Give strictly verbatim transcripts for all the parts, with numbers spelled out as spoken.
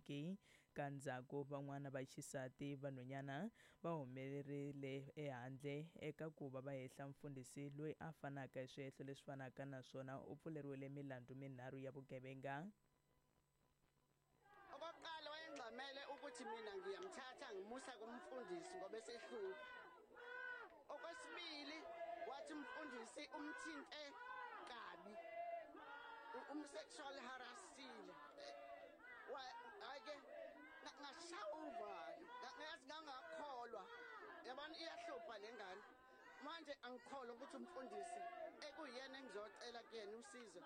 tiveki. Ka ndzhaku van'wana va xisati vanhwanyana va humelerile ehandle eka ku va va hehla mfundhisi loyi a fanaka hi swihehlo leswi fanaka naswona u pfuleriwile milandzu minharhu ya vugevenga. Okokuqala wayengxamele ukuthi mina ngiyamthatha ngimusa kumfundisi ngoba esehlupha. Okwesibili wathi umfundisi umthinte kabi, um-sexual harassile. Hhayi-ke ngashaya uvalo, ngathi ngangakholwa. Yabona iyahlupha le ngane. Manje angikholwa ukuthi umfundisi ekuyena engizocela kuyena usizo.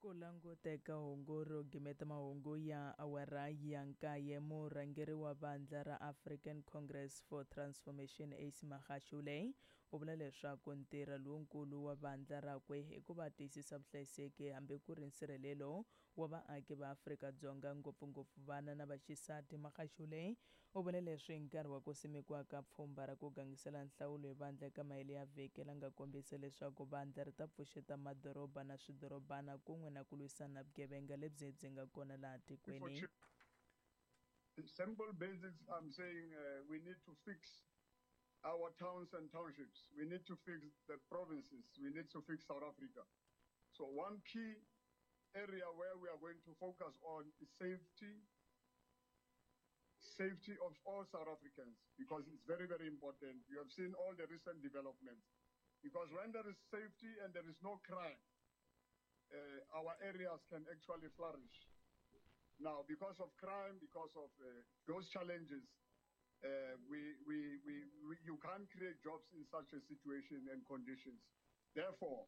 Ku languteka hungu ro gimeta mahungu ya awara ya nkaye, murhangeri wa vandla ra African Congress for Transformation Ace Magashule u vula leswaku ntirho lowukulu wa vandla rakwe i ku va tiyisisa vuhlayiseki hambi ku ri nsirhelelo wa vaaki va Afrika-Dzonga, ngopfungopfu vana na vaxisati. Magashule u vule leswi hi nkarhi wa ku simekiwa ka pfhumba ra ku gangisela nhlawulo hi vandla eka mahelo ya vhiki la nga kombisa leswaku vandla ri ta pfuxeta madoroba na swidorobana kun'we na ku lwisana na vugevenga lebyi byi nga kona laha tikweni. Simple basics, I'm saying uh, we need to fix our towns and townships. We need to fix the provinces. We need to fix South Africa. So one key area where we are going to focus on is safety, safety of all South Africans, because it's very, very important. You have seen all the recent developments. Because when there is safety and there is no crime, uh, our areas can actually flourish. Now, because of crime, because of uh, those challenges, uh, we, we, we, we, you can't create jobs in such a situation and conditions. Therefore,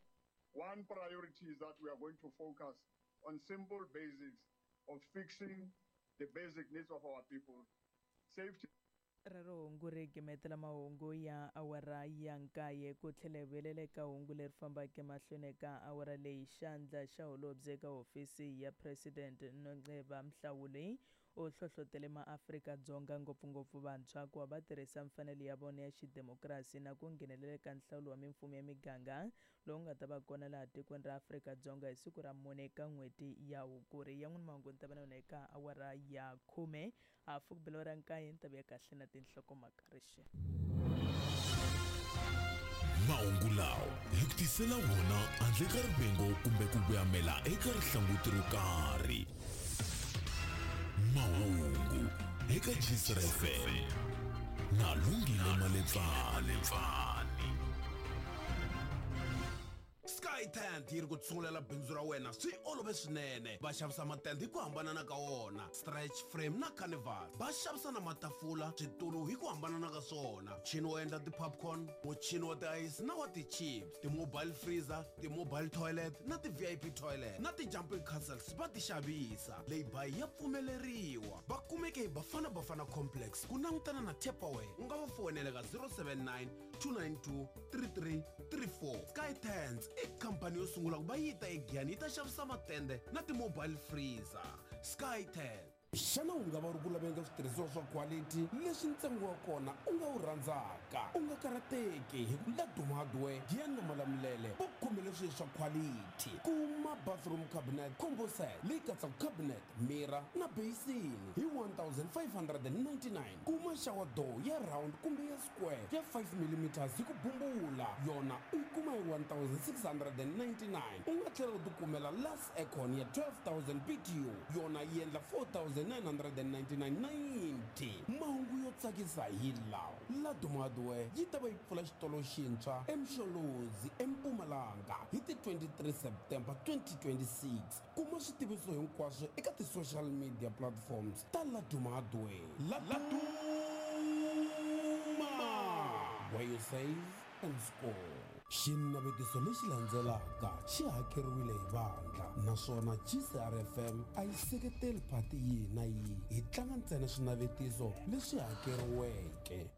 one priority is that we are going to focus on simple basics of fixing the basic needs of our people. Safety. Rero hungu ri gimetela mahungu ya awara ya nkaye ku tlhela hi vuyelela eka hungu leri fambaka emahlweni eka awara leyi. Xandla xa holobye eka hofisi ya President Nonceba Mhlawuli u hlohlotele maAfrika-Dzonga ngopfungopfu vantshwa ku va va tirhisa mfanelo ya vona ya xidemokirasi na ku nghenelela eka nhlawulo wa mimfumo ya miganga lowu nga ta va kona laha tikweni ra Afrika-Dzonga hi siku ra mune eka n'hweti ya Hukuri. Yan'wana mahungu ni ta va na yona eka awara ya khume hafu ku bela ra nkaye ni ta vuya kahle na tinhlokomhaka rixe. Mahungu lawa hi ku tisela wona handle ka rivengo kumbe ku vuyamela eka rihlanguti ro karhi. Mahungu eka Gistr F M na Lungile Maletsane. Sky Tent yi ri ku tsungulela bindzu ra wena swi olove swinene. Va xavisa matende hi ku hambanana ka wona, stretch frame na carnival. Va xavisa na matafula, switulu hi ku hambanana ka swona, muchini wo endla ti-popcorn, muchini wa ti-ice na wa ti-chips, ti-mobile freezer, ti-mobile toilet na ti-V I P toilet na ti-jumping castles va ti xavisa. Leyi ya pfumeleriwa. Va kumeke hi Bafana Bafana Complex ku langutana na Tupperware. U nga va foyinela ka zero seven nine two nine two three three three four. Sky Tents i khampani yo sungula ku va yi ta eGiyani yi ta xavisa matende na ti-mobile freezer. Sky Tent. Xana u nga va u ri ku laveni ka switirhisiwa swa quality leswi ntsengo wa kona u nga wu rhandzaka? U nga karhateki hi ku Laduma Hardware, Giyani na Malamulele va ku khomele swilo swa quality. Kuma bathroom cabinet combo set leyi katsaka cabinet, mirror na basin hi one thousand five hundred and ninety-nine. Kuma shower door ya round kumbe ya square ya five millimeters hi ku bumbula, yona u yi kuma hi one thousand six hundred and ninety-nine. U nga tlhela u tikumela last aircon ya twelve thousand B T U, yona yi endla four thousand nine hundred and ninety-nine ninety. Mahungu yo tsakisa hi lawa. Laduma Hardware yi ta va yi pfula xitolo xintshwa eMsholozi eMpumalanga hi ti twenty-three September twenty twenty-six. Kuma switiviso hinkwaswo eka ti-social media platforms ta Laduma Hardware. Laduma, where you save and score. Xinavetiso lexi landzelaka xi hakeriwile hi vandla naswona G C R F M a yi seketeli phati yihi na yihi. Hi tlanga ntsena swinavetiso leswi hakeriweke.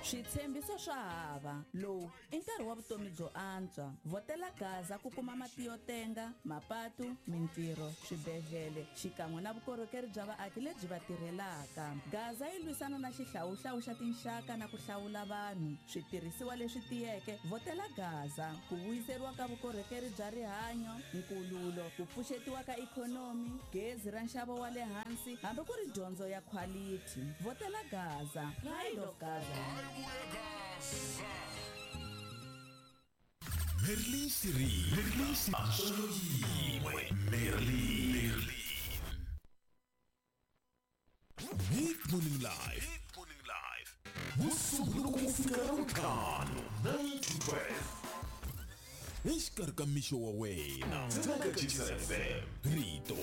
Switshembiso swa hava. Lowu i nkarhi wa vutomi byo antswa. Vhotela Gaza ku kuma mati yo tenga, mapatu, mintirho, swibedhlele xikan'we na vukorhokeri bya vaaki lebyi va tirhelaka. Gaza yi lwisana na xihlawuhlawu xa tinxaka na ku hlawula vanhu. Switirhisiwa leswi tiyeke, vhotela Gaza. Ku vuyiseriwa ka vukorhokeri bya rihanyo, nkululo, ku pfuxetiwa ka ikhonomi, gezi ra nxavo wa le hansi, hambi ku ri dyondzo ya khwalithi. Vhotela Gaza. Pride of Gaza. Merlin Siri, Merlin Siri, Merlin. Big Morning Live. Big Morning Live. Musunguluko ku fika Ravuntlhanu, nine to twelve. Exikarhi ka mixo wa wena. Tsena ka G S F M. Rito.